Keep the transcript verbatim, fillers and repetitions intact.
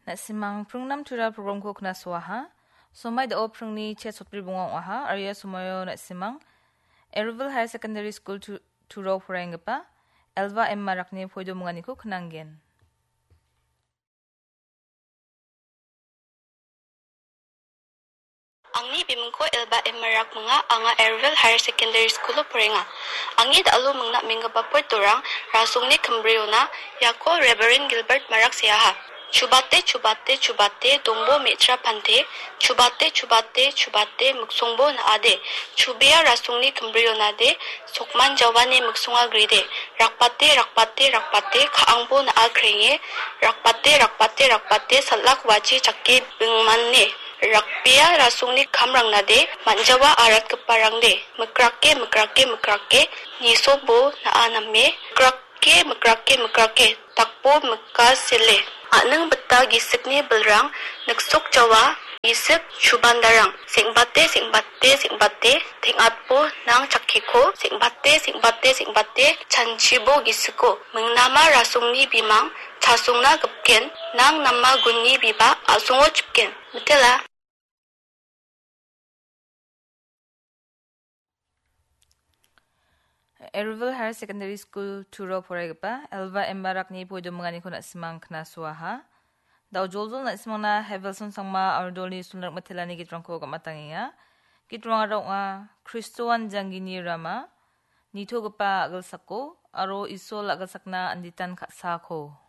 Na·simang pringnam tura programko knasoaha. Somai da·o pringni che sotbri bonga ong·aha, aro ia somoio na·simang Ervil Higher Secondary School tu-, turo poraienggipa Elva M Marakni poidominganiko knanggen. Angni bimingko Elba M Marak minga, anga Ervil Higher Secondary School-o porenga. Angni da·alo mingna menggipa poetorang rasongni kimbriona iako Reverend Gilbert Marak seaha. Chubate, chubate, chubate, dongbo me·tra pante, chubate, chubate, chubate, miksongbo na·ade, chubea rasongni kimbrionade, sokman jawani miksonga gride, rakbate, rakbate, rakbate, ka·angbo na·a krenge, rakbate, rakbate, rakbate, salak wachi chake bingmane, rakbea rasongni kamrangnade, man·jawa aratgiparangde, mikrake, mikrake, mikrake, nisobo na·a name, mikrake, mikrake, mikrake, dakbo mika sele. A·ning bita gisikni bilrang, niksok jawa, gisik chubandarang. Seng·bate, seng·bate, seng·bate, teng·atbo nang chakkeko, seng·bate, seng·bate, seng·bate, chanchibo gisiko. Mingnama rasongni bimang, chasongna gipken, nang nama gunni biba, a·songo chipken. Mitela. Ervil Higher Secondary School turo poraigipa Elva M Marakni poidominganiko na·simang knasoaha. Da·o joljol na·simangna Hevelson Sangma aro Dolly Sunrak Mitelani gitrangko gam·atangenga. Gitrangara ong·a Kristoan janggini rama, nitogipa a·gilsako, aro Isol a·gilsakna anditan ka·sako.